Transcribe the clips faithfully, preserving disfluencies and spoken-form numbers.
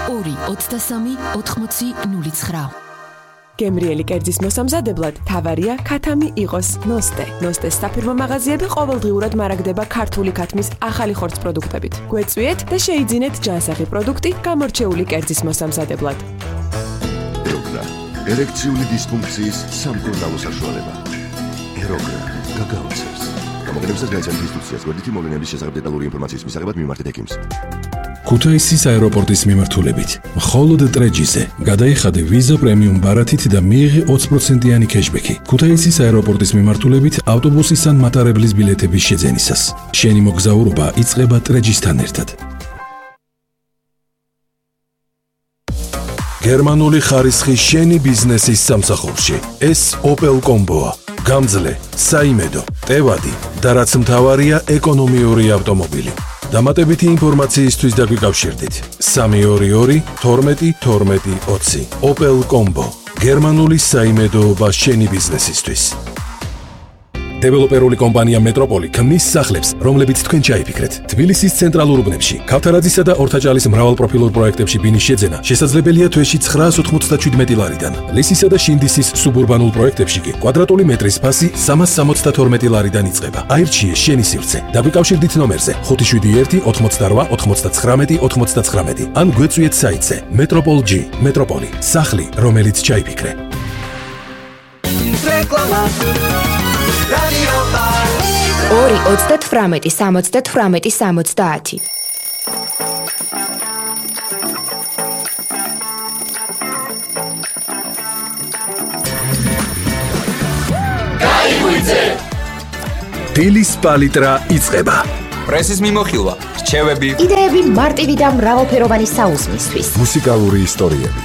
ორი ოცდასამი ოთხმოცი ნული ცხრა. გემრიელი კერძის მოსამზადებლად თავარია ქათამი იყოს ნოსტე. ნოსტეს საფირმო მაღაზიები ყოველდღიურად მარაგდება ქართული ქათმის ახალი ხორცს პროდუქტებით. გვეწვიეთ და შეიძინეთ ჯანსაღი პროდუქტი გამორჩეული კერძის მოსამზადებლად. ეროგრა ერექციული დისფუნქციის სამკურნალო საშუალება. ეროგრა გაგაოცებს. გამოგონებისას განიცემთ ინსტრუქციას გვერდითი მოვლენების შესახებ დეტალური ინფორმაციის მისაღებად მიმართეთ ექიმს. ქუთაისის აეროპორტის მიმართულებით მხოლოდ ტრეჯიზე გადაიხადე ვიზა პრემიუმ ბარათით და მიიღე ოცი პროცენტიანი კეშბექი. ქუთაისის აეროპორტის მიმართულებით ავტობუსის ან მატარებლის ბილეთების შეძენისას. შენი მოგზაურობა იწყება ტრეჯისთან ერთად. გერმანული ხარისხი შენი ბიზნესის სამსახურში. ეს Opel Combo-ა. გამძლე, საიმედო, ტევადი და რაც მთავარია ეკონომიური ავტომობილი. დამატებითი ინფორმაციისთვის დაგვიკავშირდით სამი ორი ორი თორმეტი თორმეტი ოცი. Opel Combo. გერმანული საიმედოობა შენი ბიზნესისთვის. დეველოპერული კომპანია მეტროპოლი ქმნის სახლებს, რომლებიც თქვენ ჩაიფიქრეთ. თბილისის ცენტრალურ უბნებში, ქავთარაძისა და ორთაჭალის მრავალპროფილურ პროექტებში ბინის შეძენა შესაძლებელია თვეში ცხრაას ოთხმოცდაშვიდი ლარიდან. ლისისა და შინდისის სუბურბანულ პროექტებში კი კვადრატული მეტრის ფასი სამას სამოცდათორმეტი ლარიდან იწყება. აირჩიე შენი სივრცე. დაგვიკავშირდით ნომერზე ხუთი შვიდი ერთი ოთხმოცდარვა ოცდაცხრამეტი ოცდაცხრამეტი ან გვეწვიეთ საიტზე Metropol G. მეტროპოლი. სახლი, რომელიც ჩაიფიქრე. ორი ოცდათვრამეტი სამოცდათვრამეტი სამოცდაათი. გაიგვიძე! დილის პალიტრა იწყება. პრესის მიმოხილვა, რჩევები, იდეები მარტივი და მრავალფეროვანი საუზმისთვის. მუსიკალური ისტორიები.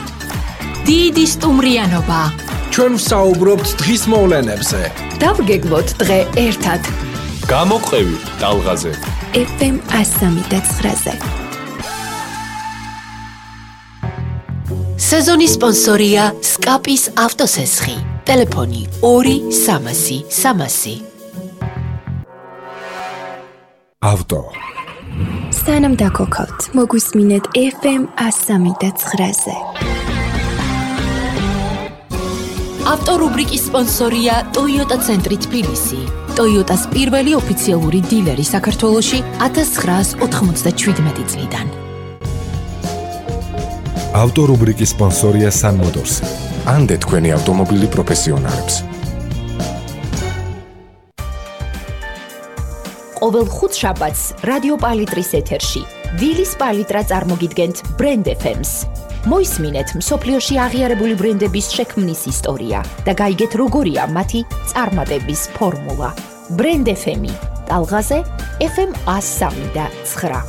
დიდი სტუმრიანობა. ჩვენ ვსაუბრობთ დღის მოვლენებზე. დავგეგმოთ დღე ერთად. გამოყევი ტალღაზე. ეფ ემ ასამი და ცხრაზე. სეზონის სპონსორია სკაპის ავტოსესხი. ტელეფონი ორი სამასი სამასი. ავტო. სანამ დაგოქავთ, მოგვისმინეთ ეფ ემ ასამი და ცხრაზე. ავტორუბრიკის სპონსორია Toyota ცენტრი თბილისი. Toyotas პირველი ოფიციალური დილერი საქართველოში ათას ცხრაას ოთხმოცდაშვიდი წლიდან. ავტორუბრიკის სპონსორია Sun Motors. ანდე თქვენი ავტომობილი პროფესიონალებს. ყოველ ხუთშაბათს რადიო პალიტრის ეთერში დილის პალიტრა წარმოგიდგენთ Brand ეფ ემს. მოისმინეთ მსოფლიოში აღიარებული ბრენდების შექმნის ისტორია და გაიგეთ როგორია მათი წარმატების ფორმულა. Brand ეფ ემი ტალღაზე ეფ ემ ასამი და ცხრა.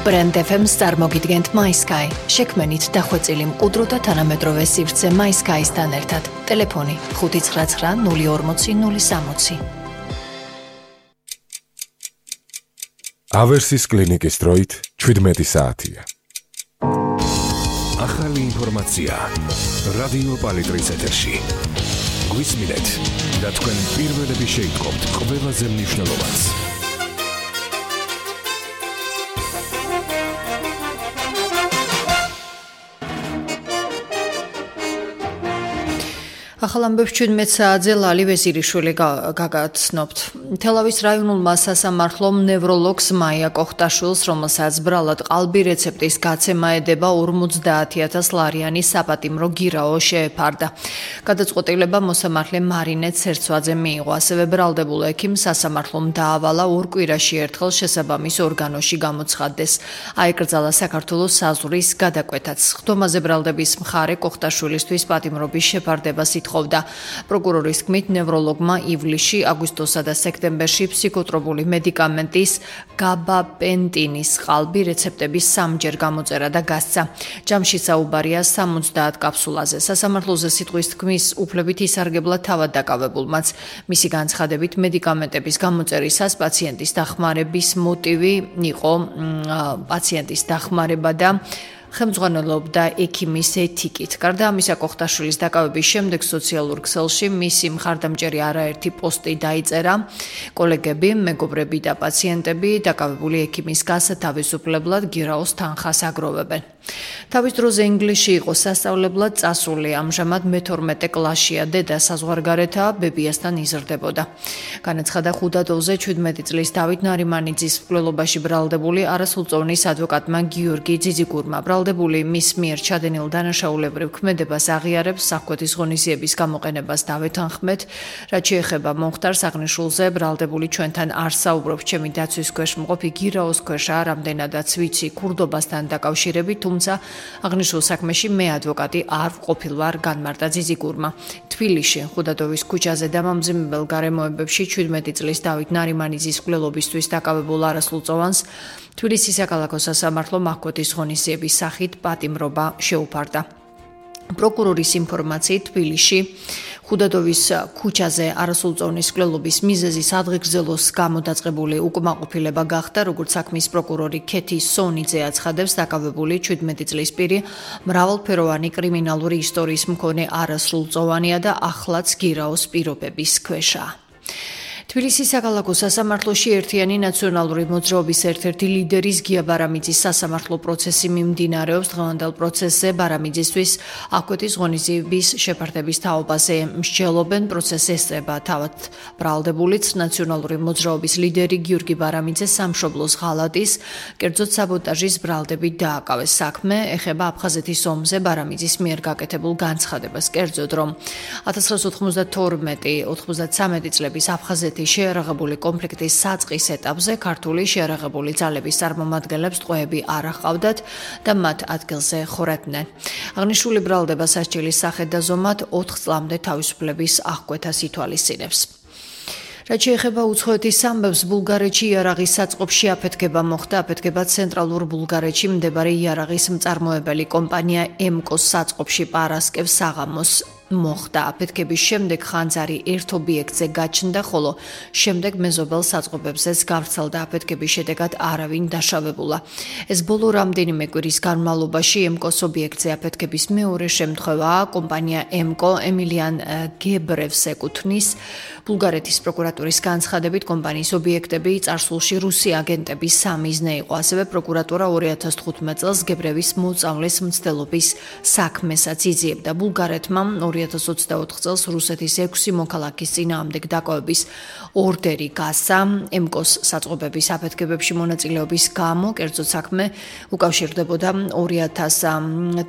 Brand ეფ ემს წარმოგიდგენთ MySky. შექმენით დახვეწილი მყუდრო და თანამედროვე სივრცე MySky-სთან ერთად. ტელეფონი ხუთი ცხრა ცხრა ნული ორმოცი ნული სამოცი. ავერსის კლინიკის დროით შვიდმეტი საათია. ახალი ინფორმაცია რადიო პალიტრის ეთერში. გვისმინეთ და თქვენ პირველები შეიტყობთ ყველაზე მნიშვნელოვანს. ახალ ამბებს შვიდმეტ საათზე ლალი ვეზირიშვილი გაგაცნობთ. თელავის რაიონულმა სასამართლომ ნევროლოგს მაია კოხტაშვილს, რომელსაც ბრალად ყალბი რეცეპტის გაცემა ედება ორმოცდაათი ათას ლარიანი საპატიმრო გირაო შეეფარდა. გადაწყვეტილება მოსამართლე მარინე ცერცვაძე მიიღო. ასევე ბრალდებულ ექიმს სასამართლომ დაავალა ორ კვირაში ერთხელ შესაბამის ორგანოში გამოცხადდეს. აეკრძალა საქართველოს საზღვრის გადაკვეთაც. ხდომაზე ბრალდების მხარე კოხტაშვილისთვის პატიმრობის შეფარდებას ითხოვდა. პროკურორის თქმით, ნევროლოგმა ივლისში, აგვისტოსა და სექტემბერში ფსიქოტროპული მედიკამენტის გაბაპენტინის ყალბი რეცეპტების სამჯერ გამოწერა და გასცა. ჯამში საუბარია სამოცდაათ კაფსულაზე. სასამართლოზე სიტყვის თქმის უფლებით ისარგებლა თავად დაკავებულმაც. მისი განცხადებით, მედიკამენტების გამოწერისას პაციენტის დახმარების მოტივი იყო პაციენტის დახმარება და ხელმძღვანელობდა ექიმის ეთიკით. გარდა ამისა, კოხტაშვილის დაკავების შემდეგ სოციალურ ქსელში მისი მხარდამჭერი არაერთი პოსტი დაიწერა. კოლეგები, მეგობრები და პაციენტები დაკავებული ექიმის გასათავისუფლებლად გირაოს თანხას აგროვებენ. თავის დროზე ინგლისში იყო სასწავლებლად წასული, ამჟამად მეთორმეტე კლასშია, დედა საზღვარგარეთაა, ბებიასთან იზრდებოდა. განაცხადა ხუდადოვზე ჩვიდმეტი წლის დავით ნარიმანიძის მკვლელობაში ბრალდებული არასრულწლოვნის ადვოკატმა გიორგი ძიძიგურმა. ბრალდებული მის მიერ ჩადენილ დანაშაულებრივ ქმედებას აღიარებს, საფრთხეთის ღონისძიების გამოყენებას დავეთანხმეთ, რაც შეეხება მომხდარს აღნიშნულზე, ბრალდებული ჩვენთან არ საუბრობს, ჩემი დაცვის ქვეშ მყოფი გირაოს ქვეშაა, რამდენადაც ვიცი ქურდობასთან დაკავშირებით, თუმცა აღნიშნულ საქმეში მე ადვოკატი არ ყოფილვარ, განმარტა ძიძიგურმა. თბილისში, ხუდადოვის ქუჩაზე დამამძიმებელ გარემოებებში ჩვიდმეტი წლის დავით ნარიმანიძის მკვლელობისთვის დაკავებულ არასრულწლოვანს თბილისის საქალაქო სასამართლომ აღკვეთის ღონისძიების სახით პატიმრობა შეუფარდა. პროკურორის ინფორმაციით თბილისში ხუდადოვის ქუჩაზე არასრულწლოვნის მკვლელობის მიზეზის ადღეგრძელოს გამოდაწყებული უკმაყოფილება გახდა, როგორც საქმის პროკურორი ქეთი სონიძე აცხადებს, დაკავებული ჩვიდმეტი წლის პირი მრავალფეროვანი კრიმინალური ისტორიის მქონე არასრულწლოვანია და ახლაც გირაოს პირობების ქვეშაა. თბილისის საქალაქო სასამართლოში ერთიანი ნაციონალური მოძრაობის ერთ-ერთი ლიდერის გია ბარამიძის სასამართლო პროცესი მიმდინარეობს. დღევანდელ პროცესზე ბარამიძისთვის აღკვეთის ღონისძიების შეფარდების თაობაზე მსჯელობენ. პროცესს ესწრება თავად ბრალდებულიც ნაციონალური მოძრაობის ლიდერი გიორგი ბარამიძე სამშობლოს ღალატის, კერძოდ საბოტაჟის ბრალდებით დააკავეს. საქმე ეხება აფხაზეთის ომზე ბარამიძის მიერ გაკეთებულ განცხადებას, კერძოდ რომ ათას ცხრაასი ოთხმოცდათორმეტი ოთხმოცდათვრამეტი წლების აფხაზეთის შეიარაღებული კონფლიქტის საწყის ეტაპზე ქართული შეიარაღებული ძალების წარმომადგენლებს ტყვეები არ აჰყავდათ და მათ ადგილზე ხორატდნენ. აღნიშნული ბრალდება სასჯელის სახედ და ზომად ოთხ წლამდე თავისუფლების აღკვეთას ითვალისწინებს. რაც შეეხება უცხოეთის ამბებს, ბულგარეთში იარაღის საწყობში აფეთქება მოხდა. აფეთქება ცენტრალურ ბულგარეთში მდებარე იარაღის მწარმოებელი კომპანია ემკოს საწყობში პარასკევ საღამოს მოხდა. აფეთქების შემდეგ ხანძარი ერთ ობიექტზე გაჩნდა, ხოლო შემდეგ მეზობელ საწყობებზეც გავრცელდა. აფეთქების შედეგად არავინ დაშავებულა. ეს ბოლო რამდენიმე კვირის განმავლობაში ემკოს ობიექტზე აფეთქების მეორე შემთხვევაა. კომპანია ემკო ემილიან გებრევს ეკუთვნის. ბულგარეთის პროკურატურის განცხადებით, კომპანიის ობიექტები წარსულში რუსი აგენტების სამიზნე იყო. ასევე პროკურატურა ორი ათას თხუთმეტ წელს გებრევის მოწამვლის მცდელობის საქმესაც იძიებდა. ბულგარეთმა ორი ათას ოცდაოთხ წელს რუსეთის ექვსი მოქალაქის წინააღმდეგ დაკავების ორდერი გასცა. ემკოს საწყობების აფეთქებებში მონაწილეობის გამო, კერძოდ საქმე უკავშირდებოდა ორი ათას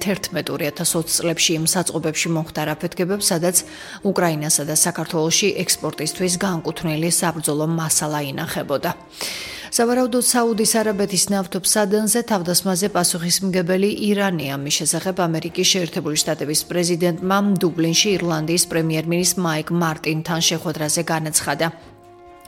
თერთმეტ ორი ათას ოცი წლებში იმ საწყობებში მომხდარ აფეთქებებს, სადაც უკრაინასა და საქართველოში ექსპორტისთვის განკუთვნილი საბრძოლო მასალა ინახებოდა. სავარაუდოდ საუდის არაბეთის ნავთობსადენზე თავდასხმაზე პასუხისმგებელი ირანია. მის შესახებ ამერიკის შეერთებული შტატების პრეზიდენტმა დუბლინში ირლანდიის პრემიერ-მინისტრ მაიკ მარტინთან შეხვედრაზე განაცხადა.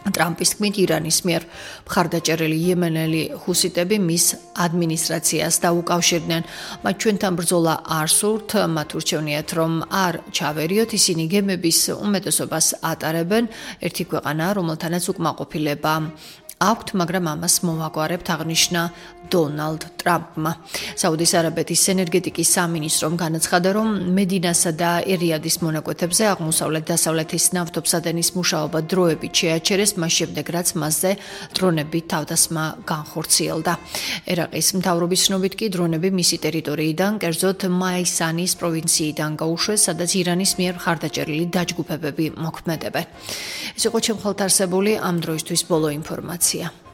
ტრამპის თქმით, ირანის მიერ მხარდაჭერილი იემენელი ჰუსიტები მის ადმინისტრაციას დაუკავშირდნენ. მათ ჩვენთან ბრძოლა არ სურთ, მათ ურჩევნიათ, რომ არ ჩავერიოთ, ისინი გემების უმეტესობას ატარებენ. ერთი ქვეყანა, რომელთანაც უკმაყოფილება აქვთ, მაგრამ ამას მოვაგვარებთ, აღნიშნა დონალდ ტრამპმა. საუდის არაბეთის ენერგეტიკის სამინისტრომ განაცხადა, რომ მედინასა და ერიადის მონაკვეთებზე აღმოსავლეთ-დასავლეთის ნავთობსადენის მუშაობა დროებით შეაჩერეს, მას შემდეგ რაც მასზე დრონებით თავდასხმა განხორციელდა. ერაყის მთავრობის ცნობით კი დრონები მისი ტერიტორიიდან, კერძოდ მაისანის პროვინციიდან გაუშვეს, სადაც ირანის მიერ მხარდაჭერილი დაჯგუფებები მოქმედებენ. ეს იყო ჩემ ხალთ არსებული ამ დროისთვის ბოლო ინფორმაცია.